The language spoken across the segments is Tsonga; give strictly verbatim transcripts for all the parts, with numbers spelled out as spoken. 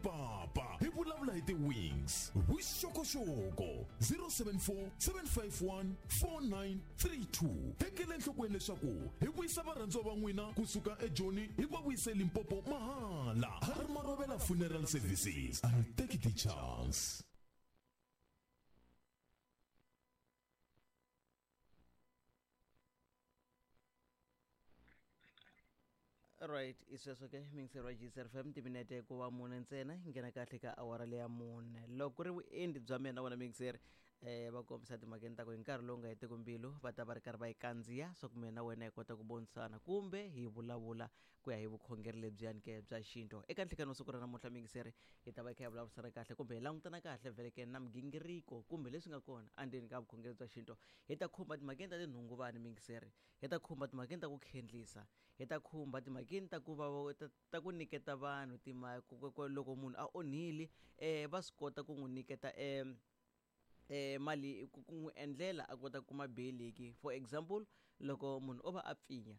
ripapa hi vulavula hi ti-wings vuxokoxoko zero seven four seven five one four nine three two tekela enhlokweni leswaku hi vuyisa varhandziwa va n'wina kusuka ejoni hi va vuyise Limpopo mahala har Marovela Funeral Services. I'll take the chance. Right, isweswo ke mingiseri wa G C F M timinete ku va mune ntsena yi nghena kahle ka awara leya mune loko ku ri vuendli bya mina wena mingiseri eh va kombisa timhakeni ta ku hi nkarhi lowu nga hetiki mbilu va ta va ri karhi va yi kandziya swa ku mina wena hi kota ku vonisana kumbe hi vulavula ku ya hi vukhongeri lebyiyani ke bya xintu eka nhlekani wa siku ra namuntlha mingiseri hi ta va hi kha hi vulavurisana kahle kumbe hi langutana kahle vhele ke na migingiriko kumbe leswi nga kona endzeni ka vukhongeri bya xintu hi ta khumba timhakeni ta tinhunguvani mingiseri hi ta khumba timhakeni ta ku khendlisa hi ta khumba timhakeni ta ku va ta ku nyiketa vanhu timali loko munhu a onhile eh va swi kota ku n'wi nyiketa eh eh mali ku n'wi endlela a kota ku kuma beyiliki for example loko munhu o va a pfinya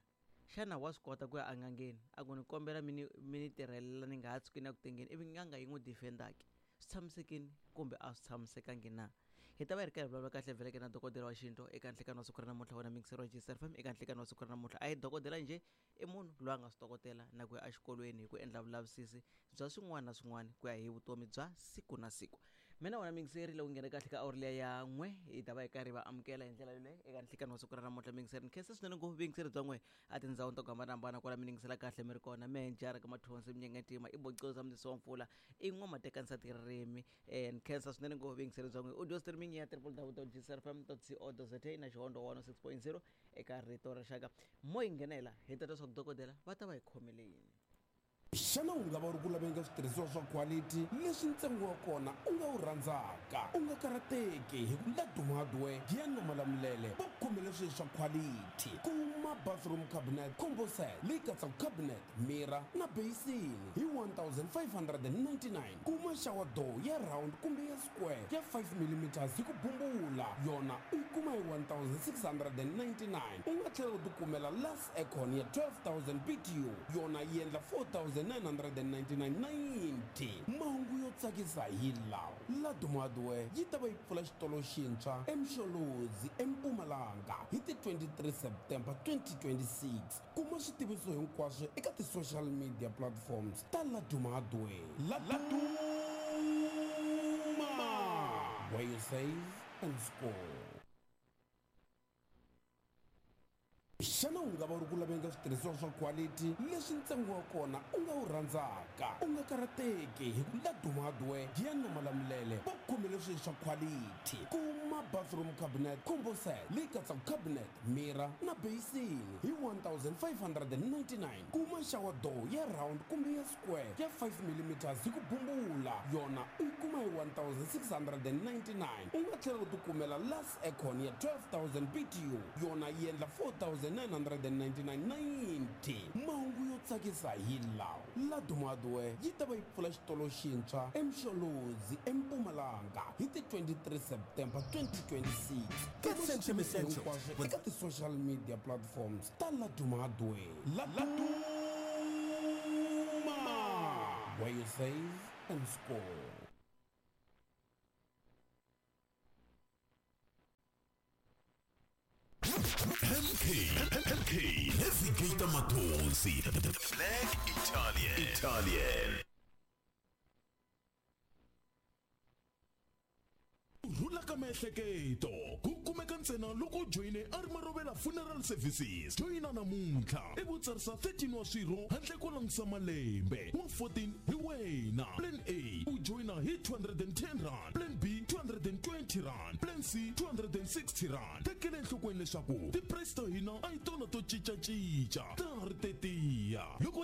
xana wa swi kota ku ya en'angeni a ku ni kombela mi ni mi ni tirhelela ni nga ha tshuki ni ya ku tengeni ivi n'anga yi n'wi defendaki swi tshamisekile kumbe a swi tshamisekangi na hi ta va hi ri karhi vulavula kahle vheleke na dokodela wa xintu eka nhlekani wa siku ra namuntlha wena mingiseri wa G C F M eka nhlekani wa siku ra namuntlha a hi dokodela njhe i munhu loyi a nga swi tokotela na ku ya exikolweni hi ku endla vulavisisi bya swin'wana na swin'wana ku ya hi vutomi bya siku na siku mina wena mingiseri loko nghene kahle ka awuri liya ya n'we hi ta va hi karhi va amukela hi ndlela yoleyo eka nhlekani wa siku ra namuntlha mingiseri ni khensa swinene ngopfu vuyingiseri bya n'we a tindhawini ta ku hambanahambana kwala mi yingisela kahle mi ri kona menjara ka mathonsi minyengetima i bocoza mundisi wa mpfula i n'wamatekanisa ririmi um ni khensa swinene ngopfu vuyingiseri bya n'we audio streaming ya triple w dot g c f m dot co dot za na xihondo one oh six point zero eka rito ra rixaka mo yi nghenela hi ta twa swa ku dokodela va ta va hi khomele yini xana u nga va u ri ku laveni ka switirhisiwa swa quality leswi ntsengo wa kona u nga wu rhandzaka u nga karhateki hi ku Laduma Hardware Giyani na Malamulele va ku khomele swilo swa quality kuma bathroom cabinet combo set leyi katsaka cabinet mirror na basin hi one thousand five hundred and ninety-nine kuma shower door ya round kumbe ya square ya five millimeters hi ku bumbula yona u yi kuma hi one thousand six hundred and ninety-nine u nga tlhela u tikumela last aircon ya twelve thousand B T U yona yi endla four thousand nine hundred and ninety-nine ninety mahungu yo tsakisa hi lawa Laduma Hardware yi ta va yi pfula xitolo xintshwa eMsholozi eMpumalanga hi ti twenty-three September twenty twenty-six kuma switiviso hinkwaswo eka ti-social media platforms ta Laduma Hardware Laduma where you save and score. Xana u nga va u ri ku laveni ka switirhisiwa swa quality leswi ntsengo wa kona u nga wu rhandzaka u nga karhateki hi ku Laduma Hardware Giyani na Malamulele va ku khomele swilo swa quality kuma bathroom cabinet combo set leyi katsaka cabinet mirror na basin hi one thousand five hundred and ninety-nine kuma shower door ya round kumbe ya square ya five millimeters hi ku bumbula yona u yi kuma hi one thousand six hundred and ninety-nine u nga tlhela u tikumela last aircon ya twelve thousand B T U yona yi endla four thousand nine hundred and ninety-nine ninety mahungu yo tsakisa hi lawa Laduma Hardware yi ta va yi pfula xitolo xintshwa eMsholozi eMpumalanga hi ti twenty-three September twenty twenty-six hinkwaswo eka ti-social media platforms ta Laduma Hardware Laduma where you save and score. M K M K Navigator Mathonsi Black Italian Italian rhula ka miehleketo ku kumeka ntsena loko u joyine a ri Marovela Funeral Services joyina namuntlha i vutsarisa thirteen wa swirho handle ko langutisa malembe wa fourteen hi wena plan A u joyina hi two hundred and ten rand plan B two hundred and twenty rand plan C two hundred and sixty rand tekela enhlokweni leswaku ti-price ta hina a hi tona to cincacinca ta ha ri tetiya loko